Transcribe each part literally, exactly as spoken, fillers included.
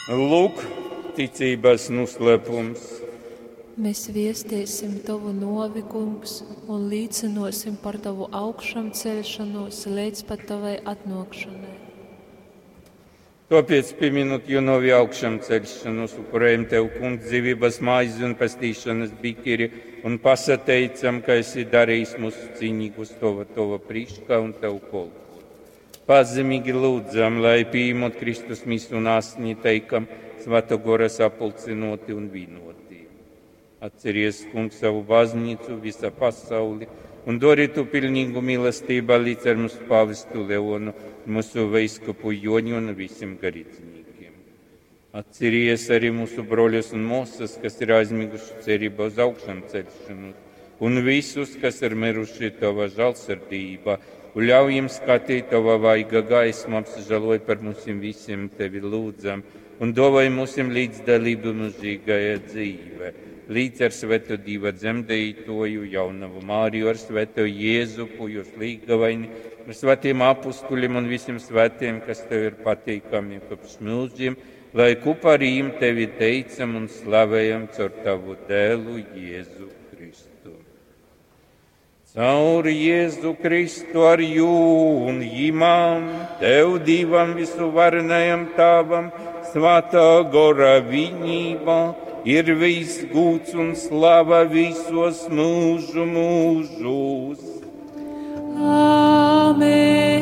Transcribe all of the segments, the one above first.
Lūk, ticības noslēpums. Mēs viestēsim Tavu novi, Kungs, un līcinosim par Tavu augšām celšanos līdz pat Tavai atnākšanai. Tāpēc, pieminot jo novi augšām celšanos, upurējam Tev, Kungs, dzīvības maizi un pestīšanas bikiri, un pasateicam, ka esi darījis mūs cīnīgus Tava, Tava priekšā un Tev kolpot. Pazemīgi lūdzam, lai pieņemot Kristus misu un asni teikam, Svētā Gora sapulcinoti un vienoti. Atceries, Kungs, savu baznīcu visā pasauli un dori tu pilnīgu mīlestību līdz ar mūsu pavestu Leonu, mūsu veiskupu Joni un visiem garīdzniekiem. Atceries arī mūsu broļus un māsas, kas ir aizmiguši cerībā uz augšām celšanos, un visus, kas ir miruši tava žēlsirdībā, un ļauj jiem skatīt tava vaiga gaismu, apsažaloj par mums visiem tevi lūdzam, un dāvāj mums līdzdalību mūžīgajā dzīvē. Līdz ar Svēto Dieva dzemdētoju, jaunavu Māriju, ar Svēto Jēzupu, jūs līgavaini, ar svētiem apustuļiem un visiem svētiem, kas tev ir patīkami kopš mūžiem, lai kopā ar viņiem tevi teicam un slavējam caur tavu dēlu Jēzu Kristu. Caur Jēzu Kristu ar jū un jimam, tev Dievam visuvarenajam Tēvam, Svētā Gora vienībā, ir viss gūts un slava visos mūžu mūžos. Āmen!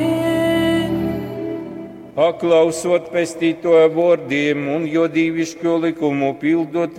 Paklausot pestītoja vārdiem un jo dievišķo likumu pildot,